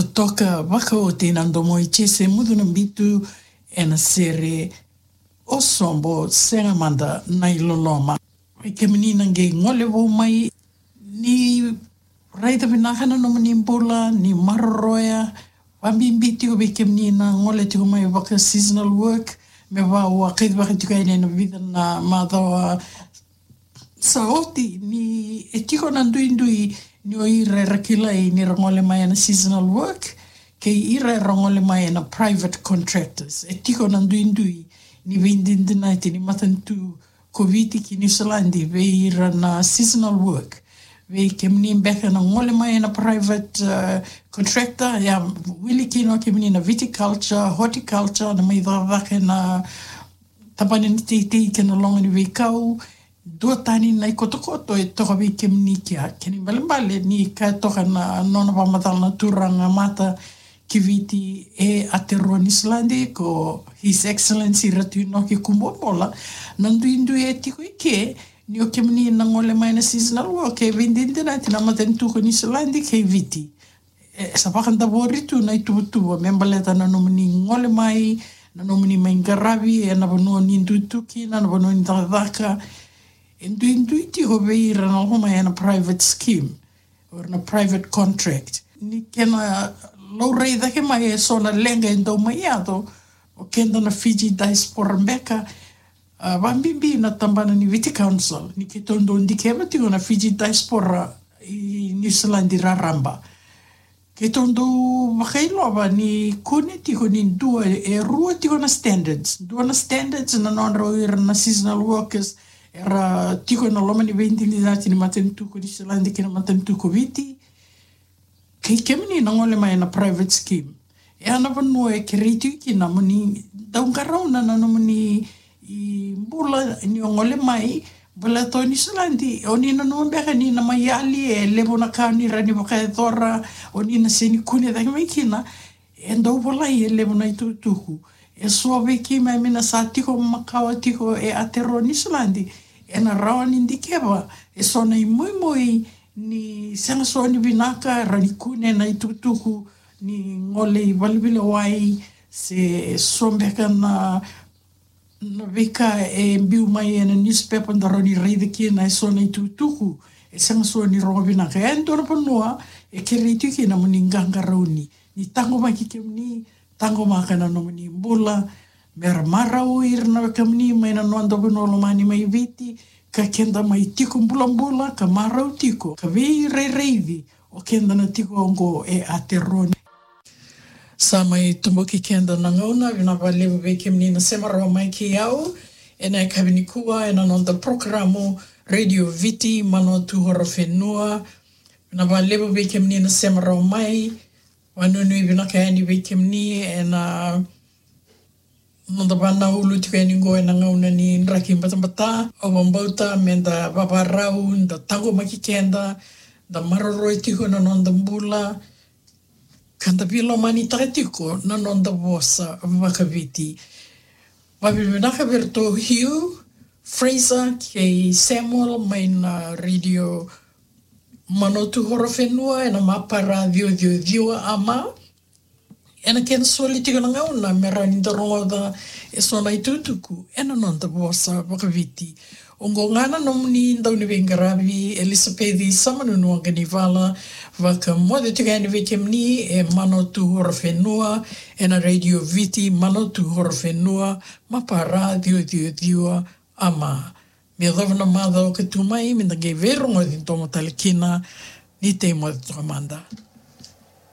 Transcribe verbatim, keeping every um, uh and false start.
Toka vakaoti na domo i Jese Mucunabitu ena sere O Sobo, Sega Mada na iLoloma. Vei kemuni na qai gole vou mai, ni raica vinaka na nomuni bula, ni maroroya, vabibi tiko vei kemuni na gole tiko mai vaka seasonal work, me vaka au a kacivaka tiko yani ena vica na macawa sa oti, ni e tiko na duidui ni o ira era kilai ni ra gole mai ena seasonal work kei ira era gole mai ena private contractors. E tiko na duidui ni veidinadinati ni matanitu ko Viti ki Niusiladi vei ira na seasonal work. Vei kemuni beka na gole mai ena private, uh, contractor, ia wili kina o kemuni na viticulture, horticulture, na mai cakacaka ena tabana ni teitei kei na loga ni veikau. Duatani na ikotokoto e toka vei kemuni kea. Kena ibalebale ni kaya toka na nona vakamacala na turaga mata ki Viti e Aotearoa Niusiladi, ko His Excellency Ratu Inoke Kubuabola, na duidui e tiko i ke ni o kemuni na gole mai na seasonal work e veidinadinati na matanitu ko Niusiladi kei Viti. E sa vakadavori tu na ituvatuva me baleta na nomuni gole mai, na nomuni mai qaravi ena vanua ni dui tu kina, na vanua ni cakacaka. E duidui tiko vei ira na lako mai ena private scheme or na private contract. Ni kena laurai cake mai eso na leqa e dau mai yaco, o keda na Fiji diaspora beka, a, vabibi na tabana ni Viti Council, ni keitou dau dikeva tiko na Fiji diaspora i Niusiladi raraba. Keitou dau vakailova ni kune tiko ni dua, e rua tiko na standards. Dua na standards na nodrau ira na seasonal workers era tiko ena loma ni veidinadinati ni matanitu ko Niusiladi kei na matanitu ko Viti. Kei kemuni na gole mai ena private scheme. E a na vanua e kerei tiko kina mo ni dau qarauna na nomuni bula ni o gole mai, baleta o Niusiladi, o ni nanuma beka ni na mai yali, e levu na ka ni rawa ni vakayacora, o ni na sega ni kune cake mai kina, e dau volai e levu na itukutuku. E so vei keimami na sa tiko makawa tiko e Aotearoa Niusiladi, ena rawa ni dikeva e so na imoimoi ni sega so ni vinaka, rawa ni kune na itukutuku ni gole i valeveilewai, se so beka na, na veika e biu mai ena newspaper da rawa ni raica kina e so na itukutuku e sega so ni rogo vinaka. E dua na vanua e kerei tiko kina mo ni qaqarauni, ni taqomaki kemuni, taqomaka na nomuni bula, me ra marau ira na wekamuni mai na noda vanua lomani mai Viti, ka keda mai tiko bulabula ka marau tiko, ka veirairaici o keda na tiko oqo e Aotearoa. Sa mai tubuki keda na gauna, vinaka vakalevu vei kemuni na sema rawa mai kei au ena yakavi nikua ena noda porokaramu Radio Viti Manawatu Horowhenua. Vinaka vakalevu vei kemuni na sema rawa mai. Vanuinui vinaka yani vei kemuni ena noda vanaulu tiko yani qo ena gauna ni draki batabata. Au vakabauta me da vavarau, da taqomaki keda, da maroroi tiko na noda bula, ka da veilomanitaka tiko na noda vosa vakaviti. Vakavinavinaka vei iratou Hugh, Fraser kei Samuel mai na Radio Manawatu Horowhenua ena mapara ciwa ciwa ciwa AM. Ena kena soli tiko na gauna me rawa ni da rogoca e so na itukutuku ena noda vosa vakaviti. Oqo ga na nomuni dauniveiqaravi Elisapeci Samanunu Waqanivala, vakamoce tiko yani vei kemuni e Manawatu Horowhenua ena Radio Viti Manawatu Horowhenua, mapara ciwa ciwa ciwa AM. Me yacova na macawa ka tu mai, me da qai veirogoci domo tale kina, ni tei moce toka mada.